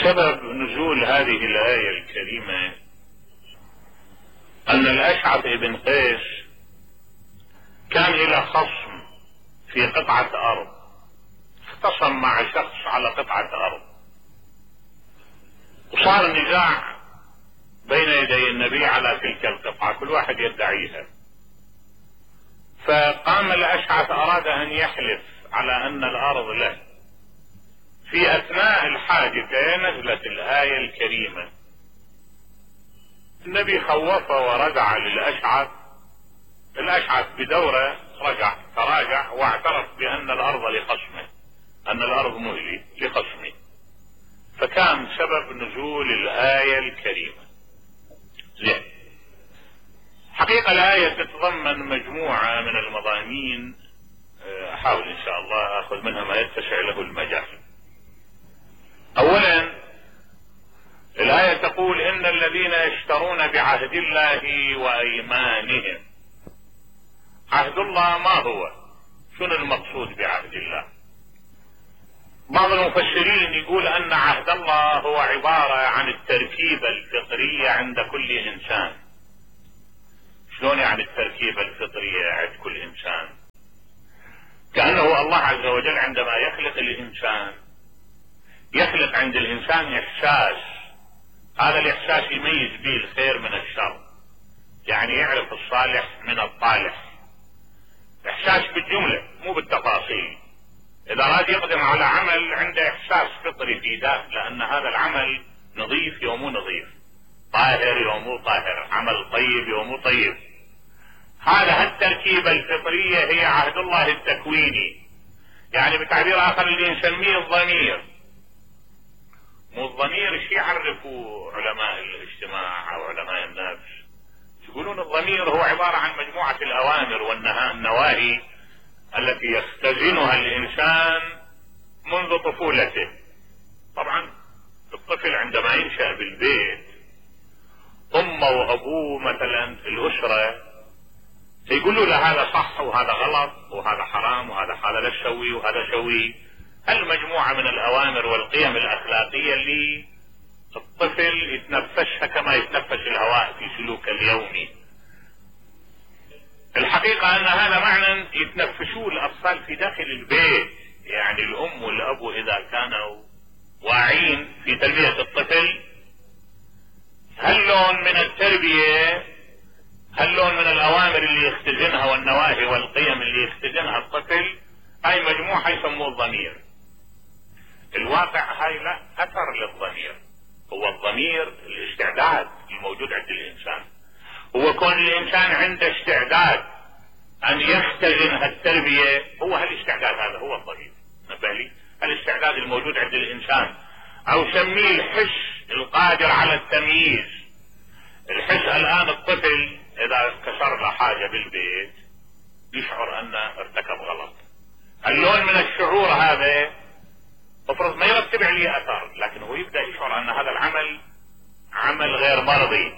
سبب نزول هذه الآية الكريمة أن الأشعث بن قيس كان إلى خصم في قطعة أرض، اختصم مع شخص على قطعة أرض، وصار نزاع بين يدي النبي على تلك القطعة، كل واحد يدعيها. فقام الأشعث أراد أن يحلف على أن الأرض له. في أثناء الحادثة نزلت الآية الكريمة. النبي خوفه ورجع للأشعث. الأشعث بدوره تراجع واعترف بأن الأرض لخصمه، أن الأرض مهلي لخصمه، فكان سبب نزول الآية الكريمة. زين. حقيقة الآية تتضمن مجموعة من المضامين، أحاول إن شاء الله أخذ منها ما يتسع له المجال. أولا الآية تقول إن الذين يشترون بعهد الله وأيمانهم. عهد الله ما هو؟ شنو المقصود بعهد الله؟ بعض المفسرين يقول أن عهد الله هو عبارة عن التركيبة الفطرية عند كل إنسان. شلون يعني التركيبة الفطرية عند كل إنسان؟ كأنه الله عز وجل عندما يخلق الإنسان يخلق عند الإنسان إحساس، هذا الإحساس يميز به الخير من الشر، يعني يعرف الصالح من الطالح. إحساس بالجملة مو بالتفاصيل. إذا أراد يقدم على عمل عنده إحساس فطري في ذاته، لأن هذا العمل نظيف يوم مو نظيف، طاهر يوم مو طاهر، عمل طيب يوم مو طيب. هذا التركيبة الفطرية هي عهد الله التكويني. يعني بتعبير آخر اللي نسميه الضمير. مو الضمير ايش يعرفوا علماء الاجتماع او علماء النفس؟ يقولون الضمير هو عبارة عن مجموعة الأوامر والنواهي التي يختزنها الإنسان منذ طفولته. طبعا الطفل عندما ينشأ بالبيت، أمه وأبوه مثلا في الأسرة يقولوا له هذا صح وهذا غلط وهذا حرام وهذا لا تسوي وهذا سوي. المجموعة من الأوامر والقيم الأخلاقية اللي الطفل يتنفسها كما يتنفس الهواء في سلوك اليومي. الحقيقة أن هذا معنى يتنفسوه الأطفال في داخل البيت. يعني الأم والأب إذا كانوا واعين في تربية الطفل، هاللون من التربية، هاللون من الأوامر اللي يختزنها والنواهي والقيم اللي يختزنها الطفل، هاي مجموعة يسموه الضمير. الواقع هاي لا أثر للضمير. هو الضمير الاستعداد الموجود عند الإنسان. هو كون الإنسان عنده استعداد أن يختزن هالتربية، هو هالاستعداد هذا هو الضمير. نبه لي الاستعداد الموجود عند الإنسان، أو سميه الحس القادر على التمييز. الحس الآن الطفل إذا كسر له حاجة بالبيت يشعر أنه ارتكب غلط. اللون من الشعور هذا افرض ما يرتب عليه اثر، لكن هو يبدأ يشعر ان هذا العمل عمل غير مرضي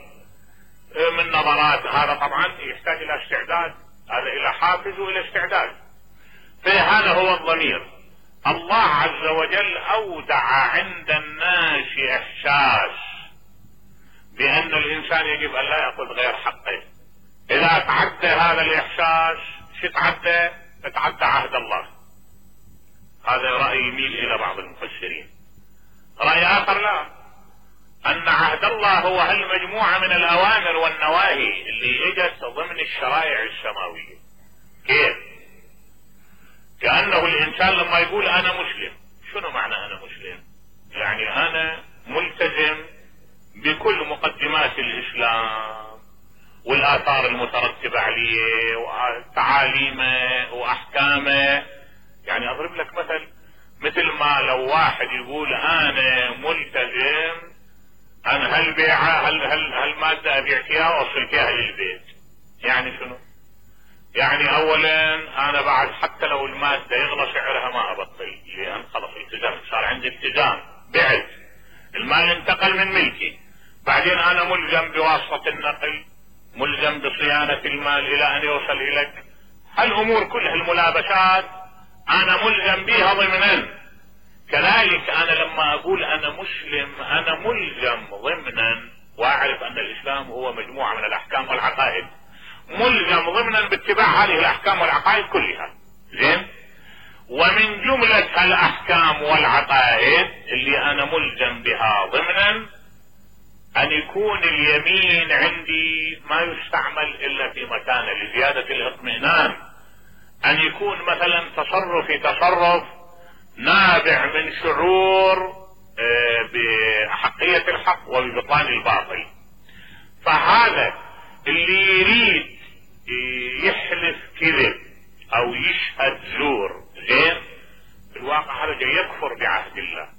من نظرات. هذا طبعا يحتاج الى استعداد، هذا الى حافز والى استعداد. فهذا هو الضمير. الله عز وجل اودع عند الناس احساس بان الانسان يجب ان لا يأخذ غير حقه. اذا تعدى هذا الاحساس شو تعدى عهد الله. هذا رأي يميل الى بعض المفسرين. رأي اخر لا، ان عهد الله هو هالمجموعة من الاوامر والنواهي اللي اجت ضمن الشرائع السماوية. كيف؟ كأنه الانسان لما يقول انا مسلم، شنو معنى انا مسلم؟ يعني انا ملتزم بكل مقدمات الاسلام والاثار المترتبة عليه وتعاليمه واحكامه. يعني اضرب لك مثل ما لو واحد يقول انا ملتزم ان هالبيعة هالمادة ابيعتها واوصلتها للبيت. يعني شنو؟ يعني اولا انا بعد حتى لو المادة يغلى سعرها ما ابطل، لان خلص التزمت، صار عندي التزام، بعت المال انتقل من ملكي. بعدين انا ملزم بواسطة النقل، ملزم بصيانة المال الى ان يوصل اليك. هالامور كلها الملابسات انا ملزم بها ضمنا. كذلك انا لما اقول انا مسلم انا ملزم ضمنا، واعرف ان الاسلام هو مجموعة من الاحكام والعقائد، ملزم ضمنا باتباع هذه الاحكام والعقائد كلها. زين؟ ومن جملة الاحكام والعقائد اللي انا ملزم بها ضمنا ان يكون اليمين عندي ما يستعمل الا في مكانه لزيادة الاطمئنان، ان يكون مثلا تصرفي تصرف نابع من شعور بأحقية الحق وببطلان الباطل. فهذا اللي يريد يحلف كذب او يشهد زور، زين، في الواقع هذا جاي يكفر بعهد الله.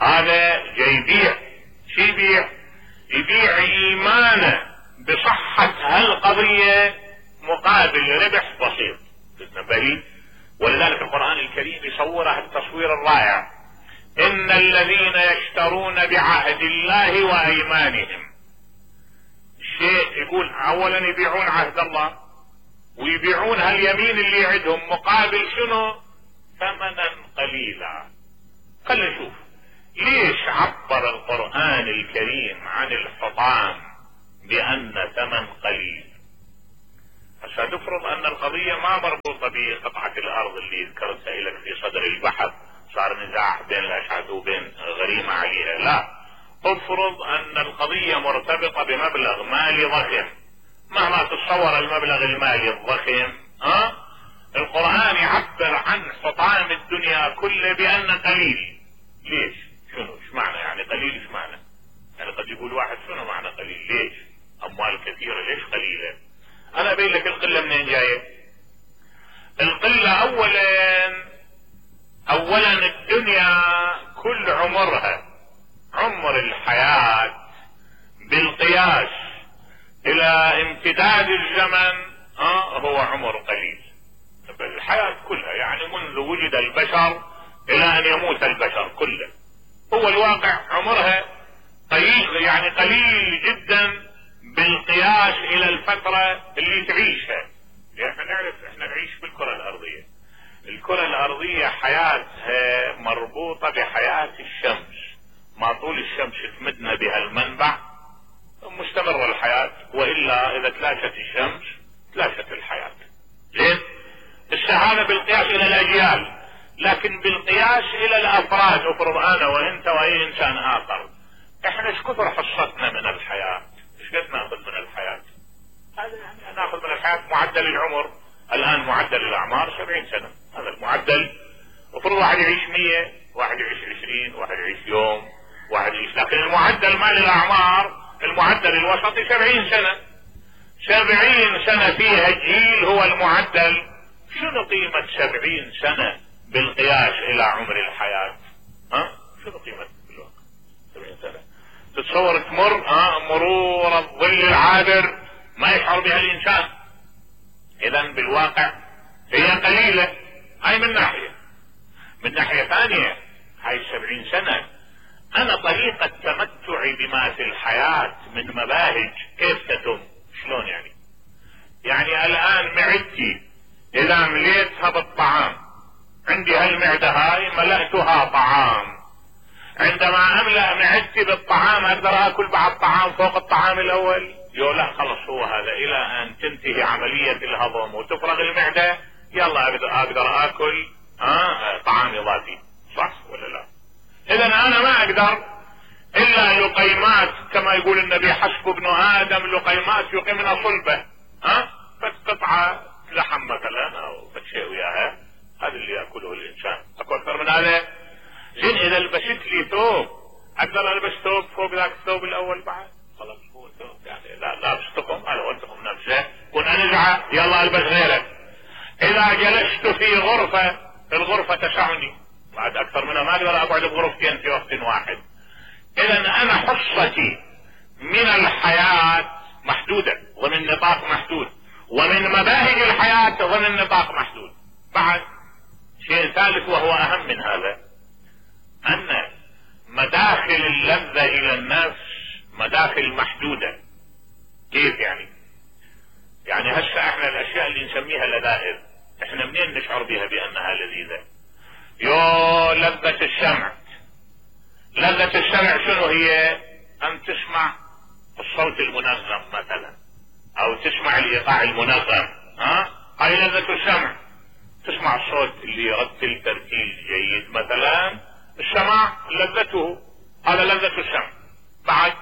هذا جاي يبيع، شو يبيع؟ يبيع ايمانه بصحة هالقضية مقابل ربح بسيط. بل ولذلك القرآن الكريم يصوره التصوير الرائع: ان الذين يشترون بعهد الله وايمانهم. شيء يقول اولا يبيعون عهد الله ويبيعون هاليمين اللي يعدهم مقابل شنو؟ ثمنا قليلا. خلينا نشوف ليش عبر القرآن الكريم عن الحطام بأن ثمن قليل. عشان تفرض ان القضية ما مربوطة بقطعة الارض اللي ذكرتها لك في صدر البحث، صار نزاع بين الاشعث وبين غريمة عليها، لا، افرض ان القضية مرتبطة بمبلغ مالي ضخم. مهما تتصور المبلغ المالي الضخم، القرآن يعبر عن حطام الدنيا كله بأن قليل. ليش؟ شنو؟ ايش معنى يعني قليل؟ ايش معنى؟ يعني قد يقول واحد شنو معنى قليل؟ ليش؟ اموال كثيرة ليش قليلة؟ انا ابين لك القلة منين جاية. القلة اولا الدنيا كل عمرها، عمر الحياة بالقياس الى امتداد الزمن هو عمر قليل. الحياة كلها يعني منذ وجد البشر الى ان يموت البشر كله، هو الواقع عمرها قليل، يعني قليل جدا بالقياس الى الفترة اللي تعيشها. احنا نعرف احنا نعيش بالكرة الارضية، الكرة الارضية حياتها مربوطة بحياة الشمس، ما طول الشمس تمدنا بها المنبع مستمرة الحياة، والا اذا تلاشت الشمس تلاشت الحياة. زين؟ الشهادة بالقياس الى الاجيال، لكن بالقياس الى الافراد، افرض انا وانت واي انسان اخر، احنا ايش كثر حصتنا من الحياة؟ ايش قد ناخذ من الحياة؟ هذا يعني ناخذ من الحياة معدل العمر، الان معدل الاعمار 70 سنة، هذا المعدل. افرض واحد يعيش 100، واحد يعيش 20، واحد يعيش يوم، واحد يعيش، لكن المعدل مال الاعمار المعدل الوسطي 70 سنة. 70 سنة فيها جيل هو المعدل. شنو قيمة 70 سنة بالقياس الى عمر الحياة؟ شنو قيمة بالواقع 70 سنة؟ تتصور تمر مرور الظل العابر ما يشعر بها الانسان. اذا بالواقع هي قليلة، هاي من ناحية. من ناحية ثانية هاي 70 سنة انا طريقة تمتعي بما في الحياة من مباهج كيف تتم؟ شلون يعني؟ يعني الان معدتي اذا مليتها بالطعام، عندي هالمعدة هاي ملأتها طعام، عندما املأ معدتي بالطعام اقدر اكل بعد طعام فوق الطعام الاول؟ لا، خلص هو هذا الى ان تنتهي عملية الهضم وتفرغ المعدة، يلا اقدر اكل طعام اضافي، صح ولا لا؟ اذا انا ما اقدر الا لقيمات، كما يقول النبي: حسب ابن ادم لقيمات يقمن صلبه. بس قطعة لحم مثلا او شيء وياها، هذا اللي ياكله الانسان، اكو اكثر من هذا؟ زين، اذا لبست لي ثوب اقدر البس ثوب فوق ذاك الثوب الاول بعد؟ خلاص هو ثوب يعني لا بستقم، هذا هو التقم نفسه، كن انزعه يلا البس غيره. اذا جلست في غرفة، الغرفة تسعني، بعد اكثر منها ما اقدر اقعد بغرفتين في وقت واحد. اذا انا حصتي من الحياة محدودة ضمن نطاق محدود، ومن مباهج الحياة ضمن نطاق محدود. بعد شيء ثالث وهو اهم من هذا، ان مداخل اللذة الى النفس مداخل محدودة. كيف يعني؟ يعني هسه احنا الاشياء اللي نسميها لذائذ، احنا منين نشعر بها بانها لذيذة؟ يو لذة السمع. لذة السمع شنو هي؟ ان تسمع الصوت المنظم مثلا، او تسمع الايقاع المنظم، هاي لذة السمع. تسمع الصوت اللي يرتل ترتيل جيد مثلا، السماع لذته، هذا لذة السمع. بعد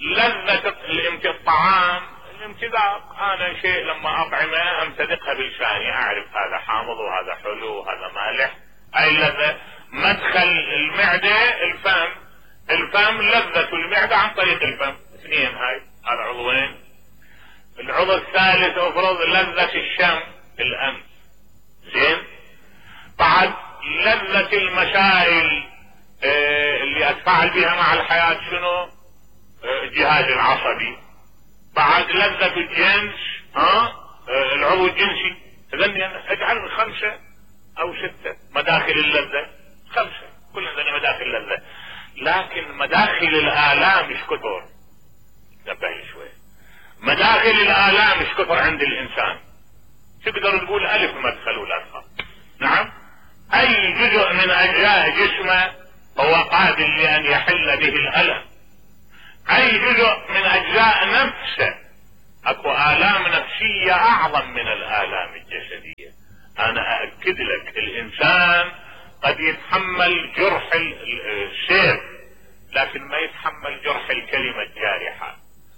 لذة الطعام، الامتذاق، انا شيء لما اطعمه امتذقها بلساني، اعرف هذا حامض وهذا حلو وهذا مالح، اي لذة. مدخل المعدة الفم، الفم لذة المعدة عن طريق الفم، اثنين، هاي هذا عضوين. العضو الثالث افرض لذة الشم، الانف، زين. بعد لذة المسائل اللي اتفاعل بها مع الحياة، شنو؟ الجهاز العصبي. بعد لذة الجنس، العضو الجنسي. اذن اجعل 5 أو 6 مداخل اللذة، 5 كل عندنا مداخل اللذة. لكن مداخل الآلام مش كثر، نبهي شوي. مداخل الآلام مش كثر عند الإنسان، تقدر تقول 1000 مدخل ولا أكثر. نعم، أي جزء من أجزاء جسمه هو قابل لأن يحل به الألم. أي جزء من أجزاء نفسه، أكو آلام نفسية أعظم من الآلام الجسدية. أنا أأكد لك الإنسان قد يتحمل جرح السيف، لكن ما يتحمل جرح الكلمة الجارحة،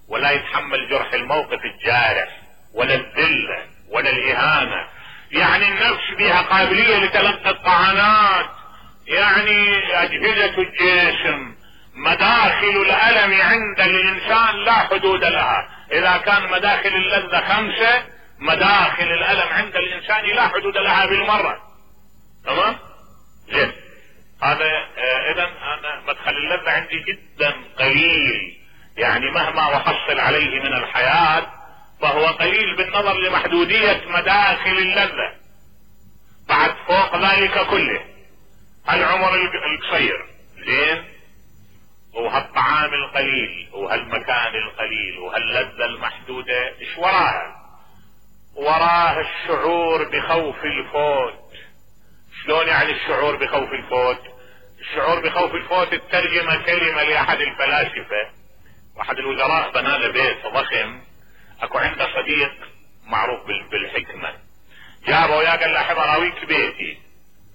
ولا يتحمل جرح الموقف الجارح، ولا الذلة، ولا الإهانة. يعني النفس بها قابلية لتلقي الطعنات، يعني أجهزة الجسم، مداخل الألم عند الإنسان لا حدود لها. إذا كان مداخل اللذة 5، مداخل الألم عند الإنسان لا حدود لها بالمرة. تمام؟ زين. هذا إذن أنا مدخل اللذة عندي جدا قليل، يعني مهما أحصل عليه من الحياة فهو قليل بالنظر لمحدودية مداخل اللذة. بعد فوق ذلك كله العمر القصير، زين، وهالطعام القليل وهالمكان القليل وهاللذة المحدودة، ايش وراها؟ وراها الشعور بخوف الفوت. شلون يعني الشعور بخوف الفوت؟ الشعور بخوف الفوت الترجمة كلمة لأحد الفلاسفة، واحد الوزراء بنى له بيت ضخم، اكو عنده صديق معروف بالحكمة، جابه وياه قال له احب اراويك بيتي.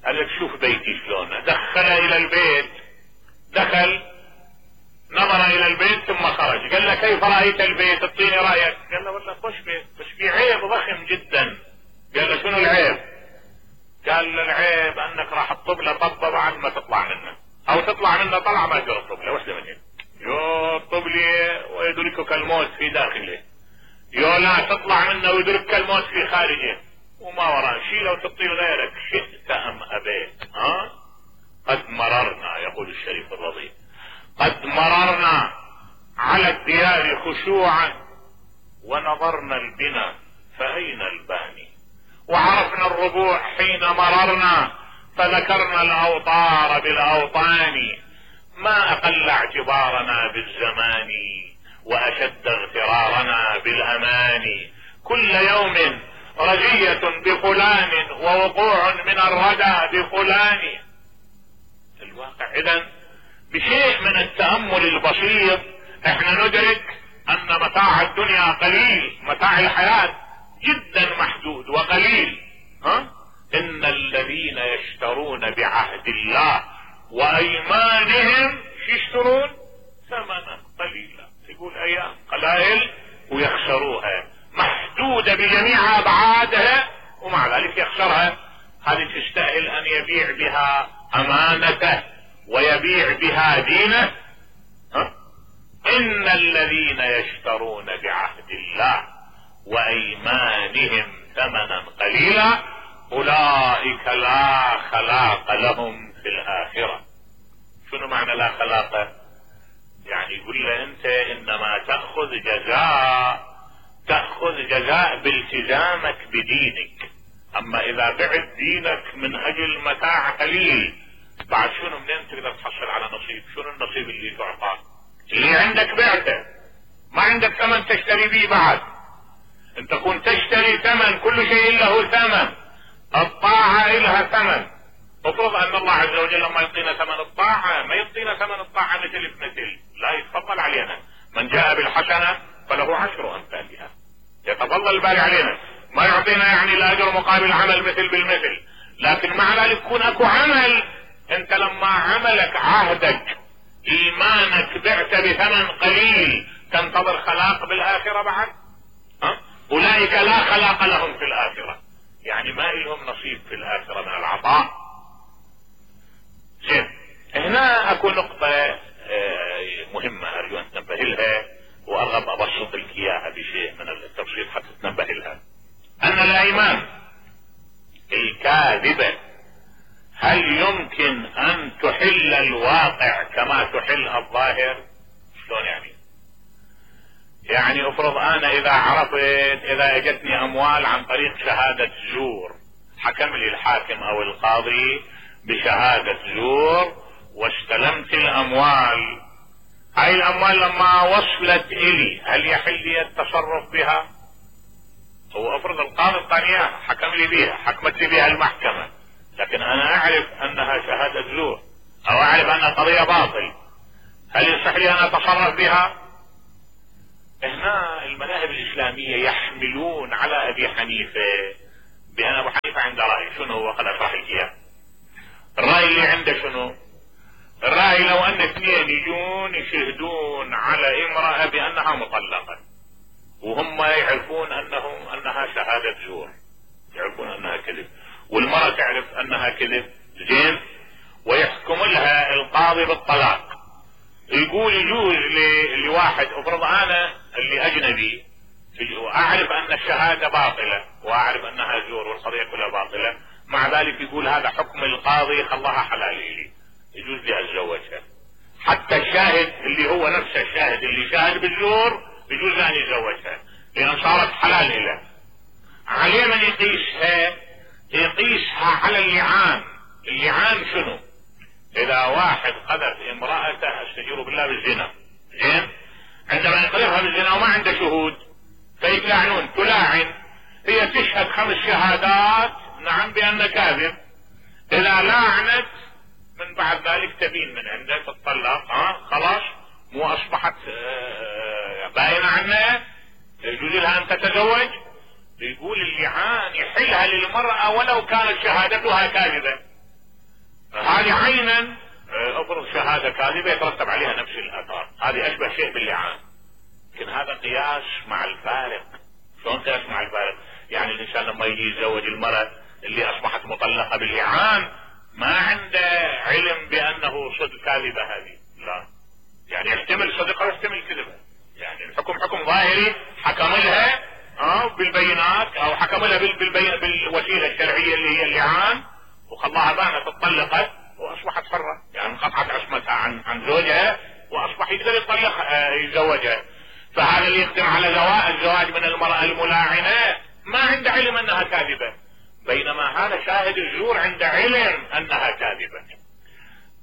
قال لك شوف بيتي شلون. دخله الى البيت، دخل نظر الى البيت ثم خرج، قال له كيف رأيت البيت؟ اعطيني رأيك. قال له والله خوش بيت، بس في عيب ضخم جدا. قال له شنو العيب؟ قال له العيب انك راح تطب له طبه بعد ما تطلع منه، او تطلع منه طلع ما تقدر تطب له، وحده منهم. يو طب لي ويدركك الموت في داخله، يو لا تطلع منه ويدركك الموت في خارجه، وما وراه شيء لو تطير غيرك شئت ام ابيت. قد مررنا، يقول الشريف الرضي، قد مررنا على الديار خشوعا ونظرنا البنا فأين الباني، وعرفنا الربوع حين مررنا فذكرنا الأوطار بالأوطان، ما أقل اعتبارنا بالزمان وأشد اغترارنا بالأمان، كل يوم رزية بفلان ووقوع من الردى بفلان. الواقع إذن بشيء من التأمل البسيط احنا ندرك ان متاع الدنيا قليل، متاع الحياة جدا محدود وقليل. ان الذين يشترون بعهد الله وايمانهم يشترون ثمنا قليلا، يقول ايام قلائل ويخسروها، محدودة بجميع ابعادها ومع ذلك يخسرها. هذه تستاهل ان يبيع بها امانته ويبيع بها دينه. ان الذين يشترون بعهد الله وايمانهم ثمنا قليلا اولئك لا خلاق لهم في الاخرة. شنو معنى لا خلاق؟ يعني يقول له انت انما تأخذ جزاء بالتزامك بدينك، اما اذا بعت دينك من اجل متاع قليل بعد شنو منين تقدر تحصل على نصيب؟ شنو النصيب اللي تعطى؟ اللي عندك بعته، ما عندك ثمن تشتري به بعد. انت كنت تشتري ثمن، كل شيء له ثمن، الطاعة لها ثمن، افرض ان الله عز وجل لما يعطينا ثمن الطاعة ما يعطينا ثمن الطاعة مثل بمثل، لا يتفضل علينا، من جاء بالحسنة فله 10 أمثالها، يتفضل الباري علينا، ما يعطينا يعني الاجر مقابل عمل مثل بالمثل، لكن مع ذلك يكون اكو عمل. انت لما عملك عهدك ايمانك بعت بثمن قليل تنتظر خلاق بالاخرة بعد؟ اولئك لا خلاق لهم في الاخرة، يعني ما لهم نصيب في الاخرة من العطاء. زين، هنا اكو نقطة مهمة ارجو ان تنبه لها، وارغب ابسط لك اياها بشيء من التبسيط حتى تنبه لها. ان الايمان الكاذبة هل يمكن ان تحل الواقع كما تحل الظاهر؟ شلون يعني افرض انا اذا عرفت اذا اجتني اموال عن طريق شهادة زور، حكم لي الحاكم او القاضي بشهادة زور واستلمت الاموال، هاي الاموال لما وصلت الي هل يحل لي التصرف بها؟ هو افرض القاضي الثانية حكم لي بها، حكمت لي بها المحكمة، لكن انا اعرف انها شهادة زور او اعرف انها قضية باطل، هل يصح لي ان اتصرف بها؟ هنا المذاهب الاسلامية يحملون على ابي حنيفة بان ابو حنيفة عنده رأي. شنو هو؟ خل اشرح لك اياه. الرأي اللي عنده شنو؟ الرأي لو ان اثنين يجون يشهدون على امرأة بانها مطلقة وهم يعرفون انها شهادة زور، يعرفون انها كذب، والمرأة تعرف انها كذب، زين، ويحكم لها القاضي بالطلاق، يقول يجوز لواحد، افرض انا اللي اجنبي واعرف ان الشهادة باطلة واعرف انها زور والقضية كلها باطلة، مع ذلك يقول هذا حكم القاضي خلاها حلال لي، يجوز لي اتزوجها، حتى الشاهد اللي هو نفس الشاهد اللي شاهد بالزور يجوز ان يتزوجها لان صارت حلال له. عليه من يقيسها على اللعان. اللعان شنو؟ اذا واحد قذف امرأته استجير بالله بالزنا، زين، عندما يقذفها بالزنا وما عنده شهود فيتلاعنون، تلاعن، هي تشهد 5 شهادات نعم بان كاذب، اذا لاعنت من بعد ذلك تبين من عنده تطلق، خلاص مو اصبحت باينة عنها، يجوز لها ان تتزوج. يقول اللعان يحلها للمرأة ولو كانت شهادتها كاذبة، هذه عينا افرض شهادة كاذبة يترتب عليها نفس الاثار، هذه اشبه شيء باللعان. لكن هذا قياس مع الفارق. شلون قياس مع الفارق؟ يعني الانسان لما يجي يتزوج المرأة اللي اصبحت مطلقة باللعان ما عنده علم بانه صدق كاذبة هذه، لا، يعني يحتمل صدقها ويحتمل كذبها، يعني الحكم حكم ظاهري، حكم لها بالبينات او حكم لها بالوسيلة الشرعية اللي هي اللعان وخلاها بانت اتطلقت واصبحت حرة، يعني انقطعت عصمتها عن زوجها واصبح يقدر يتزوجها. فهذا اللي يقدم على الزواج من المرأة الملاعنة ما عنده علم انها كاذبة، بينما هذا شاهد الزور عنده علم انها كاذبة.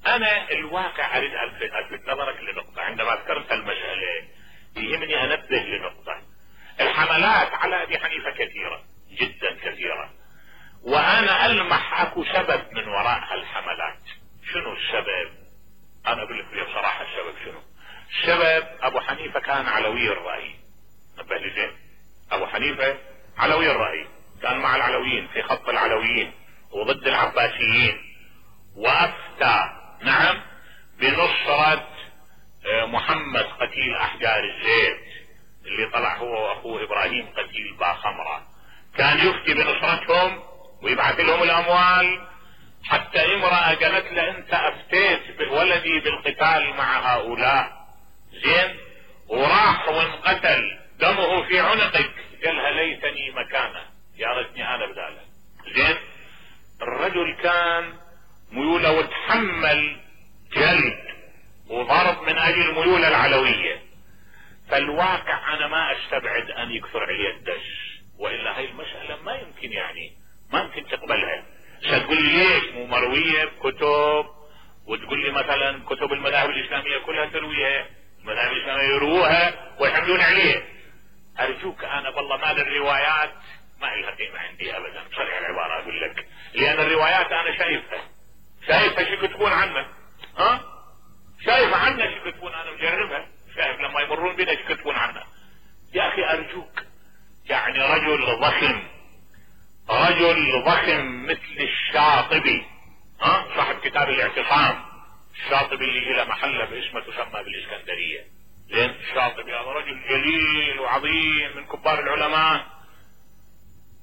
انا الواقع اريد الفت نظرك لنقطة، عندما ذكرت المسألة يهمني انبه لنقطة. الحملات على ابي حنيفة كثيرة جدا كثيرة، وانا المح اكو سبب من وراء هالحملات. شنو السبب؟ انا اقول لك بصراحة السبب شنو. السبب ابو حنيفة كان علوي الرأي، نبه لي زين، ابو حنيفة علوي الرأي، كان مع العلويين في خط العلويين وضد العباسيين، وافتى نعم بنصرة محمد قتيل احجار الزيت اللي طلع هو واخوه ابراهيم قتيل باخمرة، كان يفتي بنصرتهم ويبعث لهم الاموال. حتى امرأة قالت له انت افتيت بولدي بالقتال مع هؤلاء، زين، وراح وانقتل دمه في عنقك، قالها ليتني مكانه، يا ريتني انا بداله، زين. الرجل كان ميوله وتحمل جلد وضرب من اجل ميوله العلوية. فالواقع انا ما استبعد ان يكثر عليه الدش، والا هاي المسألة ما يمكن، يعني ما يمكن تقبلها. ستقول لي ليش مو مروية بكتب، وتقول لي مثلا كتب المذاهب الاسلامية كلها ترويها، المذاهب الاسلامية يروها ويحملون عليه. ارجوك انا والله مال الروايات ما لها قيمة عندي ابدا، بصريح العبارة اقول لك، لان الروايات انا شايفها شايفها شو يكتبون عنك؟ ها؟ شايف عنك شو يكتبون؟ انا مجربها، شايف لما يمرون بنا شو يكتبون عنك. يا اخي ارجوك، يعني رجل ضخم مثل الشاطبي، صاحب كتاب الاعتصام، الشاطبي اللي له محله باسمه تسمى بالاسكندريه. لين الشاطبي هذا رجل جليل وعظيم من كبار العلماء،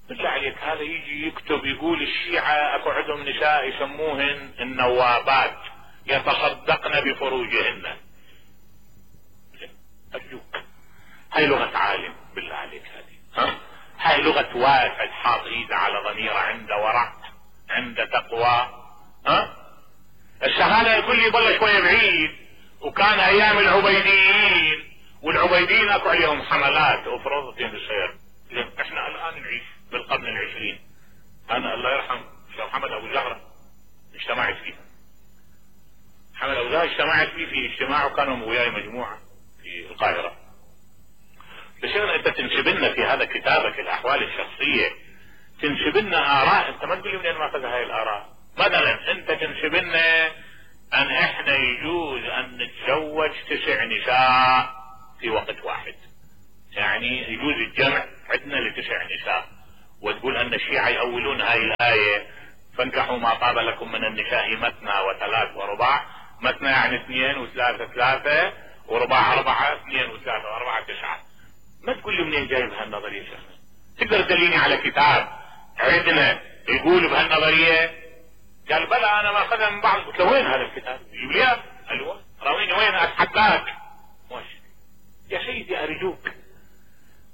بالله عليك هذا يجي يكتب يقول الشيعة اكو عندهم نساء يسموهن النوابات يتصدقن بفروجهن. ارجوك، هاي لغة عالم بالله عليك، هاي لغة واحد حاط ايده على ضميره، عنده ورع، عنده تقوى. الشهادة يقول لي يضل شوية بعيد، وكان ايام العبيديين، والعبيديين اكو عليهم حملات افرضت بصير. احنا الان نعيش بالقرن العشرين. انا الله يرحم شيخ محمد ابو زهرة اجتمعت فيه، محمد ابو زهرة اجتمعت فيه في اجتماع، وكانوا وياي مجموعة في القاهرة. بشير انت تنسب لنا في هذا كتابك الاحوال الشخصية، تنسب لنا اراء، انت ما تقول لي منين ماخذ هاي الاراء. مثلا انت تنسب لنا ان احنا يجوز ان نتزوج 9 نساء في وقت واحد، يعني يجوز الجمع عندنا ل9 نساء، وتقول ان الشيعة يأولون هاي الاية فانكحوا ما طاب لكم من النساء مثنى وثلاث ورباع. مثنى يعني 2 وثلاثة 3 ورباع 4، 2 وثلاثة و4 9. ما تقول لي منين جايب هالنظرية شخص؟ تقدر تدليني على كتاب عندنا يقول بهالنظرية؟ قال بلى انا ما اخذها من بعض. قلت له وين هذا الكتاب؟ يقول لي ايوه راويني وين اتحداك. يا سيدي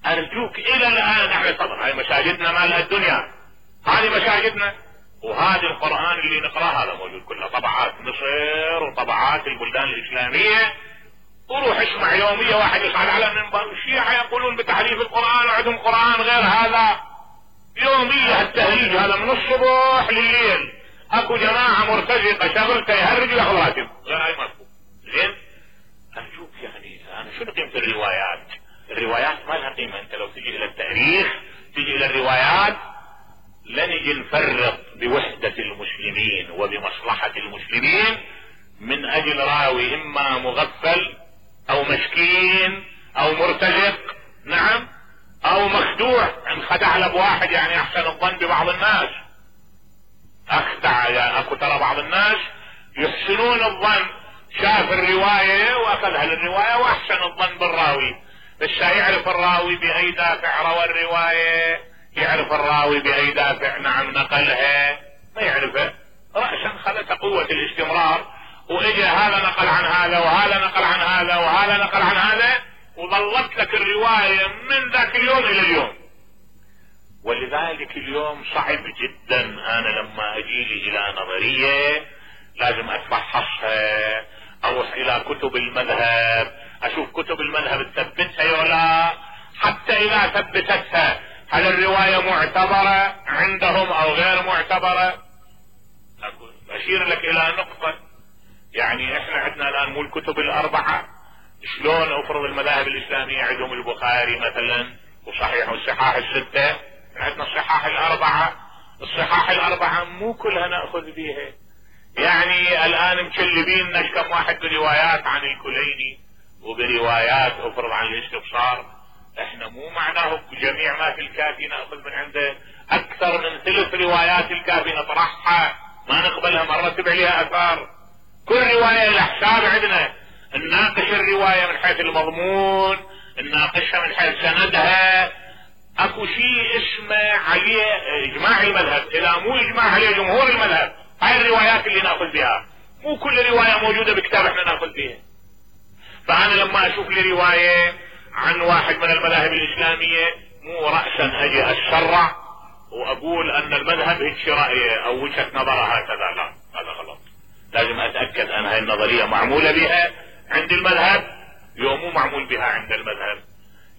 ارجوك الى الان احنا طبعا هاي مساجدنا مال الدنيا، هذه مساجدنا، وهذا القرآن اللي نقراه هذا موجود كله طبعات مصر وطبعات البلدان الاسلامية. وروح اسمع يومية واحد يصعد على المنبر الشيعة يقولون بتحريف القرآن وعندهم قرآن غير هذا. يومية التهريج هذا من الصبح لليل. اكو جماعة مرتزقة شغلته يهرج وياخذ راتب غير هاي مفهوم. زين ارجوك يعني انا شنو قيمة الروايات؟ الروايات ما لها قيمة. انت لو تجي الى التاريخ، تجي الى الروايات، لنجي نفرط بوحدة المسلمين وبمصلحة المسلمين من اجل راوي اما مغفل او مسكين او مرتزق، نعم، او مخدوع، انخدع له بواحد، يعني احسن الظن ببعض الناس، اخدع يا اكو ترى بعض الناس يحسنون الظن، شاف الرواية واخذها للرواية واحسن الظن بالراوي، بس يعرف الراوي باي دافع روى الرواية، يعرف الراوي باي دافع نعم نقلها، ما يعرفه، رأسا خلت قوة الاستمرار، واجى هذا نقل عن هذا وهذا نقل عن هذا وهذا نقل عن هذا، وظلت لك الرواية من ذاك اليوم الى اليوم. ولذلك اليوم صعب جدا انا لما اجيلي الى نظرية لازم اتفحصها، اروح الى كتب المذهب، اشوف كتب المذهب تثبتها ولا، حتى اذا ثبتتها هل الرواية معتبرة عندهم او غير معتبرة. اشير لك الى نقطة، يعني احنا عندنا الان مو الكتب الاربعة، شلون افرض المذاهب الاسلامية عندهم البخاري مثلا وصحيح والصحاح الستة، عندنا الصحاح الاربعة، الصحاح الاربعة مو كلها نأخذ بيها، يعني الان مكلبين كم واحد بروايات عن الكليني وبروايات افرض عن الاستبصار، احنا مو معناه جميع ما في الكافي نأخذ من عنده، اكثر من 3 روايات الكافي نطرحها ما نقبلها، ما نرتب عليها اثار، كل رواية لحساب عندنا، نناقش الرواية من حيث المضمون، نناقشها من حيث سندها، اكو شيء اسمه عليه اجماع المذهب، اذا مو اجماع عليه جمهور المذهب، هاي الروايات اللي ناخذ بها، مو كل رواية موجودة بكتاب احنا ناخذ بها. فانا لما اشوف لي رواية عن واحد من المذاهب الاسلامية مو رأسا اجي اتشرع واقول ان المذهب هيك رأيه او وجهة نظره هكذا، لا هذا غلط، لازم اتأكد ان هاي النظرية معمولة بها عند المذهب يوم مو معمول بها عند المذهب.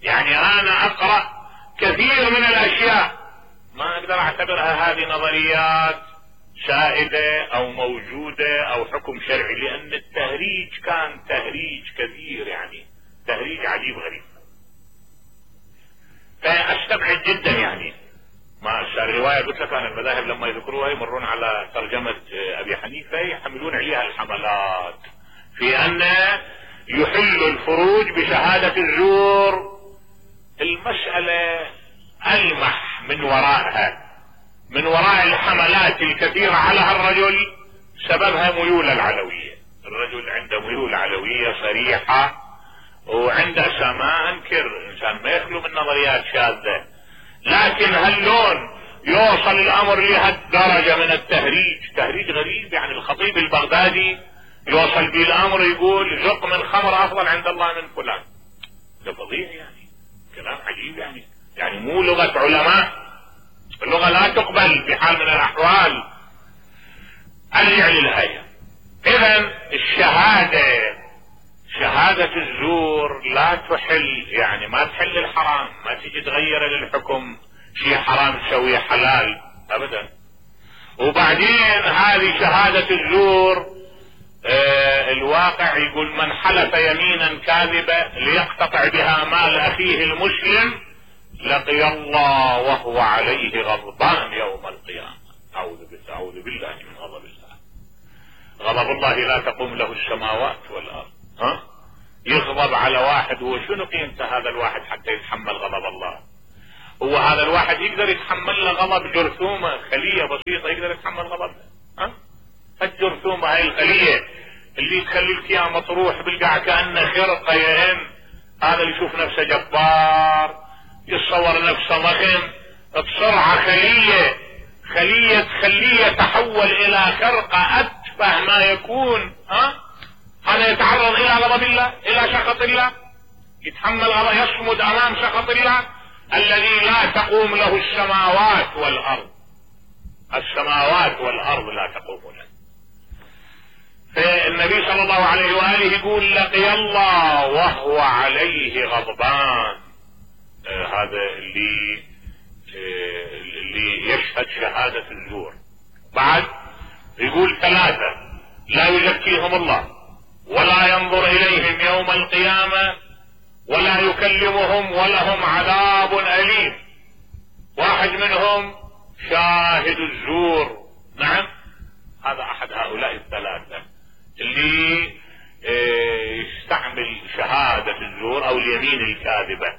يعني انا اقرأ كثير من الاشياء ما اقدر اعتبرها هذه نظريات سائدة او موجودة او حكم شرعي، لان التهريج كان تهريج كثير، يعني تهريج عجيب غريب، فاستبعد جدا يعني ما الرواية قلت لك انا المذاهب لما يذكروها يمرون على ترجمة ابي حنيفة يحملون عليها الحملات في ان يحل الفروج بشهادة الزور. المسألة ألمح من وراءها، من وراء الحملات الكثيرة على الرجل سببها ميول العلوية. الرجل عنده ميول علوية صريحة وعنده ما انكر انسان ما يخلو من نظريات شاذة، لكن هاللون يوصل الامر لهالدرجة من التهريج، تهريج غريب. يعني الخطيب البغدادي يوصل به الامر يقول زق من خمر افضل عند الله من فلان. ده فظيع يعني، كلام عجيب يعني مو لغة علماء، اللغة لا تقبل بحال من الاحوال. ارجع للآية. اذا الشهادة، شهادة الزور لا تحل، يعني ما تحل الحرام، ما تجي تغير للحكم شيء حرام تسويه حلال ابدا. وبعدين هذه شهادة الزور الواقع يقول من حلف يمينا كاذبة ليقتطع بها مال اخيه المسلم لقي الله وهو عليه غضبان يوم القيامة. اعوذ بالله من غضب الله. غضب الله لا تقوم له السماوات والارض. يغضب على واحد، هو شنو قيمته هذا الواحد حتى يتحمل غضب الله؟ هو هذا الواحد يقدر يتحمل له غضب جرثومة خلية بسيطة يقدر يتحمل غضبها؟ الجرثومة هاي الخلية اللي تخليك يا مطروح بالقاع كأنه خرقة يهن، هذا اللي يشوف نفسه جبار يتصور نفسه ضخم، بسرعة خلية تخليه تحول الى خرقة اتفه ما يكون. هذا يتعرض الى غضب الله، الى سخط الله، يتحمل غضب، يصمد امام سخط الله الذي لا تقوم له السماوات والارض. السماوات والارض لا تقوم له. فالنبي صلى الله عليه وآله يقول لقي الله وهو عليه غضبان. هذا اللي يشهد شهادة الزور. بعد يقول 3 لا يزكيهم الله ولا ينظر اليهم يوم القيامة ولا يكلمهم ولهم عذاب أليم. واحد منهم شاهد الزور. نعم، هذا احد هؤلاء 3 اللي يستعمل شهادة الزور او اليمين الكاذبة.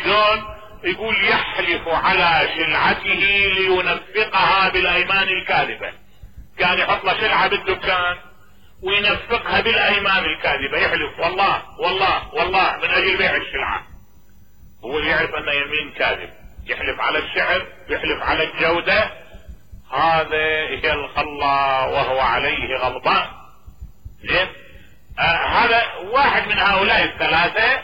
شلون؟ يقول يحلف على سلعته لينفقها بالايمان الكاذبة. كان يحط له سلعة بالدكان وينفقها بالايمان الكاذبة، يحلف والله والله والله من اجل بيع السلعة. هو يعرف انه يمين كاذب، يحلف على السعر، يحلف على الجودة. هذا يلقى الله وهو عليه غضبان. زين، هذا واحد من هؤلاء 3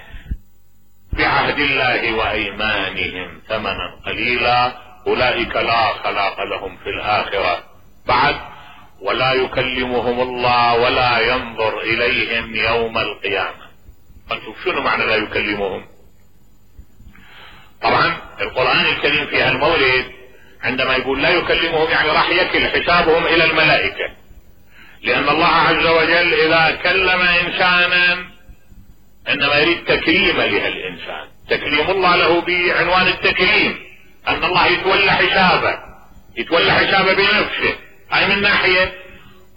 بعهد الله وايمانهم ثمنا قليلا اولئك لا خلاق لهم في الاخرة. بعد ولا يكلمهم الله ولا ينظر اليهم يوم القيامة. فنشوف شنو معنى لا يكلمهم. طبعا القرآن الكريم في هالمولد عندما يقول لا يكلمهم يعني راح يكل حسابهم الى الملائكة، لان الله عز وجل اذا كلم انسانا انما يريد تكريم لهالانسان. تكريم الله له بعنوان التكريم ان الله يتولى حسابه بنفسه. هاي من ناحية.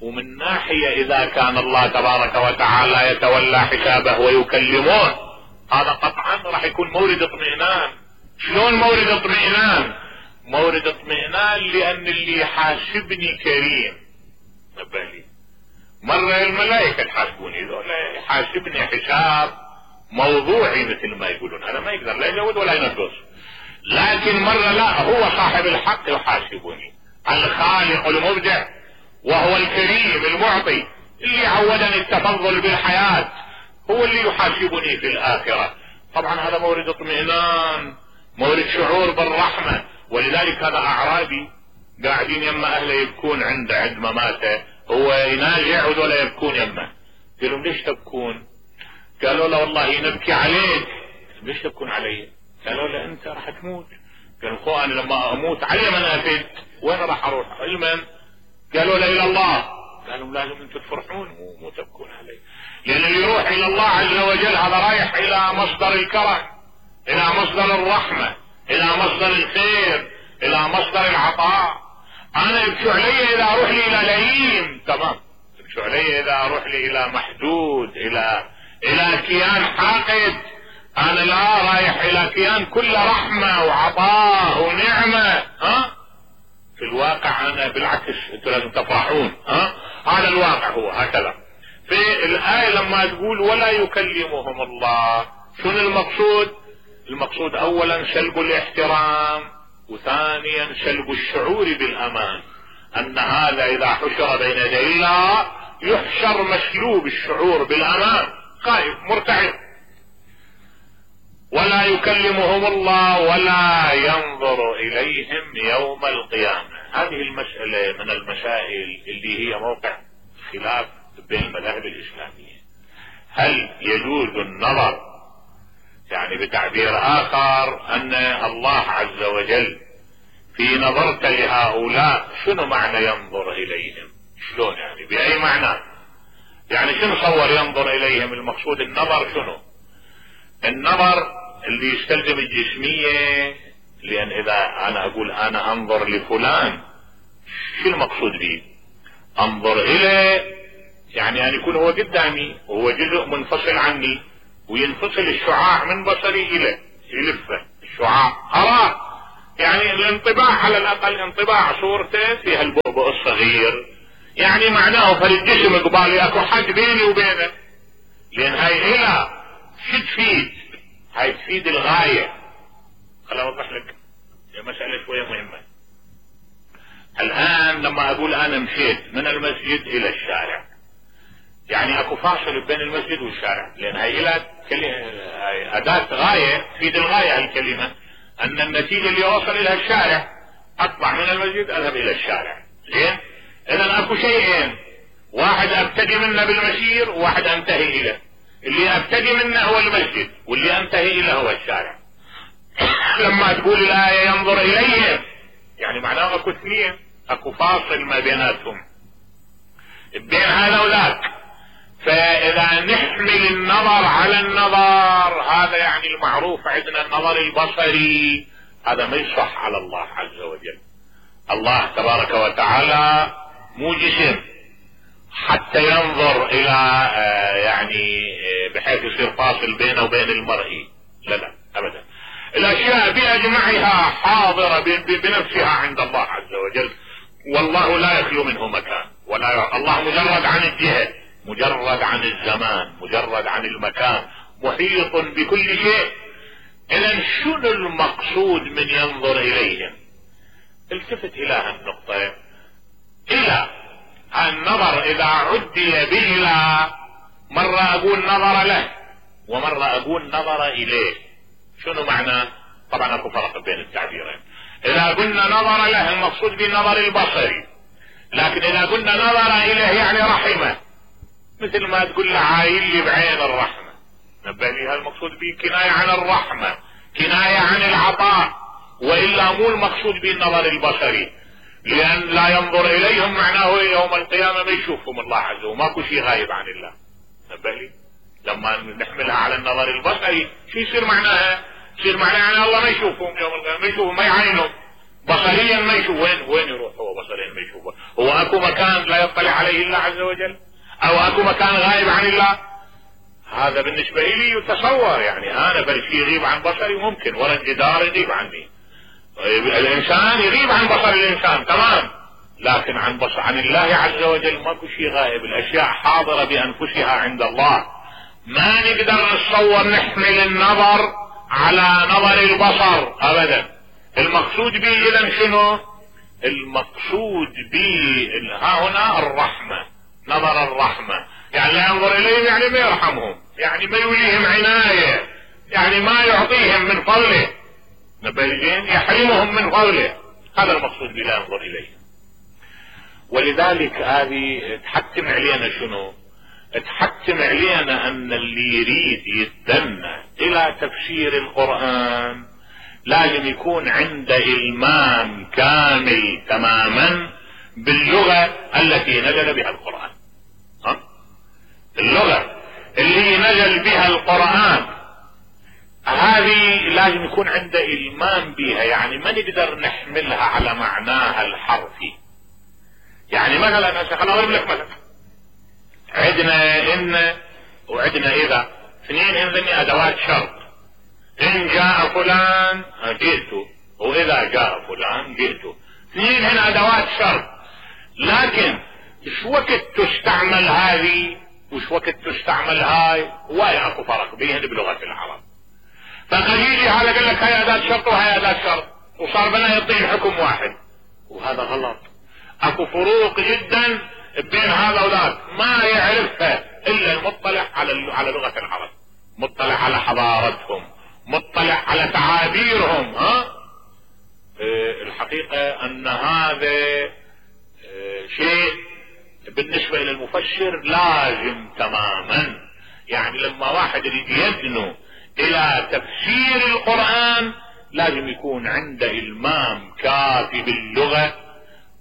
ومن ناحية اذا كان الله تبارك وتعالى يتولى حسابه ويكلمون، هذا قطعا راح يكون مورد اطمئنان. شلون مورد اطمئنان؟ مورد اطمئنان لان اللي يحاسبني كريم. نبالي مرة الملائكة تحاسبوني، ذولا يحاسبني حساب موضوعي مثل ما يقولون، هذا ما يقدر لا يزود ولا ينقص. لكن مرة لا، هو صاحب الحق يحاسبني، الخالق المبدع وهو الكريم المعطي اللي عودني التفضل بالحياة، هو اللي يحاسبني في الآخرة. طبعا هذا مورد اطمئنان، مورد شعور بالرحمة. ولذلك هذا أعرابي قاعدين يما أهله يبكون عند مماته، هو يناجع ولا يبكون يمه. قالوا ليش تبكون؟ قالوا له والله نبكي عليك. ليش تبكون علي؟ قالوا له انت راح تموت. قالوا خو انا لما اموت علي من افيد وين راح اروح؟ علما قالوا له الى الله. قالوا لازم انتم تفرحون مو تبكون علي، لان اللي يروح الى الله عز وجل هذا رايح الى مصدر الكرم، الى مصدر الرحمة، الى مصدر الخير، الى مصدر العطاء. انا يبكوا علي اذا اروح لي الى لئيم، تمام، يبكوا علي اذا اروح لي الى محدود، الى كيان حاقد. انا لا رايح الى كيان كله رحمة وعطاء ونعمة. في الواقع انا بالعكس انتوا لازم تفرحون. هذا الواقع هو هكذا. في الآية لما تقول ولا يكلمهم الله، شنو المقصود؟ المقصود اولا سلب الاحترام، وثانيا سلب الشعور بالامان، ان هذا اذا حشر بين يدي الله يحشر مسلوب الشعور بالامان، خائف مرتعب. ولا يكلمهم الله ولا ينظر اليهم يوم القيامة. هذه المسألة من المسائل اللي هي موقع خلاف بين المذاهب الاسلامية. هل يجوز النظر، يعني بتعبير اخر ان الله عز وجل في نظرت لهؤلاء، شنو معنى ينظر اليهم؟ شلون يعني؟ باي معنى؟ يعني شنو صور ينظر اليهم؟ المقصود النظر شنو؟ النظر اللي يستلزم الجسمية، لان اذا انا اقول انا انظر لفلان، شو المقصود به؟ انظر اليه يعني ان يكون هو قدامي وهو جزء منفصل عني، وينفصل الشعاع من بصري اليه، يلفه الشعاع اراه، يعني الانطباع على الاقل انطباع صورته فيها البؤبؤ الصغير، يعني معناه فالجسم قبالي اكو حد بيني وبينه. لان هاي الى شو تفيد؟ هاي تفيد الغاية. خليني اوضح لك مسألة شوية مهمة. الان لما اقول انا مشيت من المسجد الى الشارع، يعني اكو فاصل بين المسجد والشارع، لان هاي الى اداة غاية تفيد الغاية. الكلمة ان النتيجة اللي اوصل الى الشارع، اطلع من المسجد اذهب الى الشارع. زين؟ اذا اكو شيئين، واحد ابتدي منه بالمسير وواحد انتهي اليه. اللي ابتدي منه هو المسجد، واللي انتهي اليه هو الشارع. لما تقول الآية ينظر اليهم، يعني معناه اكو اثنين، اكو فاصل ما بيناتهم بين هذا وذاك. فاذا نحمل النظر على النظر، هذا يعني المعروف عندنا النظر البصري، هذا ما يصح على الله عز وجل. الله تبارك وتعالى مو جسم حتى ينظر الى يعني بحيث يصير فاصل بينه وبين المرئي، لا ابدا. الاشياء باجمعها حاضرة بنفسها عند الله عز وجل، والله لا يخلو منه مكان، ولا الله مجرد عن الجهة، مجرد عن الزمان، مجرد عن المكان، محيط بكل شيء. اذا شنو المقصود من ينظر اليهم؟ التفت الى هالنقطة. الى النظر اذا عدي بإلى، مرة اقول نظر له ومرة اقول نظر اليه. شنو معنى؟ طبعا اكو فرق بين التعبيرين. اذا قلنا نظر له المقصود بالنظر البصري، لكن اذا قلنا نظر اليه يعني رحمه، مثل ما تقول له عايل لي بعين الرحمة. نبه لي، هذا المقصود به كناية عن الرحمة، كناية عن العطاء، والا مو المقصود بالنظر البصري. لان لا ينظر اليهم معناه يوم القيامة ما يشوفهم الله عز وجل، ماكو شيء غايب عن الله. نبه لي، لما نحملها على النظر البصري شو يصير معناها؟ يصير معناها يعني الله ما يشوفهم يوم القيامة، ما يشوفهم، ما يعينهم بصريا، ما يشوف. وين يروح هو بصريا ما يشوفه؟ هو اكو مكان لا يطلع عليه الله عز وجل؟ او اكو مكان غايب عن الله؟ هذا بالنسبة لي يتصور، يعني انا برشي يغيب عن بصري ممكن، ولا الجدار يغيب عني، الانسان يغيب عن بصر الانسان تمام، لكن عن الله عز وجل ماكو شيء غائب. الاشياء حاضرة بانفسها عند الله. ما نقدر نتصور نحمل النظر على نظر البصر ابدا. المقصود به اذا شنو؟ المقصود به ها هنا الرحمة، نظر الرحمة، يعني لا ينظر اليهم يعني ما يرحمهم، يعني ما يوليهم عناية، يعني ما يعطيهم من فضله، نبالجين يحرمهم من فضله. هذا المقصود بلا ينظر اليهم. ولذلك هذه تحتم علينا شنو؟ تحتم علينا ان اللي يريد يتدنى الى تفسير القرآن لازم يكون عنده إلمام كامل تماما باللغة التي نزل بها القرآن. اللغة اللي نزل بها القرآن هذه لا لازم يكون عنده إلمام بها، يعني ما نقدر نحملها على معناها الحرفي. يعني مثلا خليني اقول لك مثلا عندنا ان وعندنا اذا، اثنين هذني ادوات شرط. ان جاء فلان جئت، واذا جاء فلان جئت. اثنين هنا ادوات شرط، لكن ايش وقت تستعمل هذه وش وقت تستعمل هاي، ولا اكو فرق بيهن بلغة العرب. فقد يجي هذا قال لك هاي اداة شرط وهاي اداة شرط، وصار بنا يعطيه حكم واحد، وهذا غلط. اكو فروق جدا بين هذا وذاك ما يعرفها الا المطلع على لغة العرب، مطلع على حضارتهم، مطلع على تعابيرهم. الحقيقة ان هذا شيء بالنسبة الى المفسر لازم تماما. يعني لما واحد يريد يدنو الى تفسير القرآن لازم يكون عنده المام كافي باللغة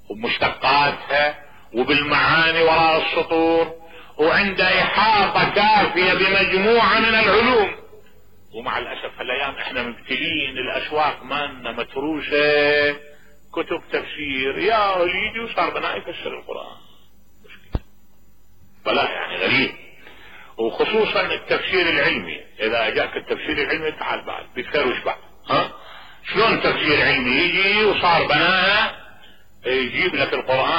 ومشتقاتها وبالمعاني وراء السطور، وعنده احاطة كافية بمجموعة من العلوم. ومع الاسف هالايام احنا مبتلين، الاسواق مالنا متروسة كتب تفسير يا وليدي، وصار بنا يفسر القرآن مشكلة بلا يعني غريب. وخصوصا التفسير العلمي، اذا جاك التفسير العلمي تعال بعد بيتكروش بعد. شلون تفسير علمي يجي وصار بناها يجيب لك القرآن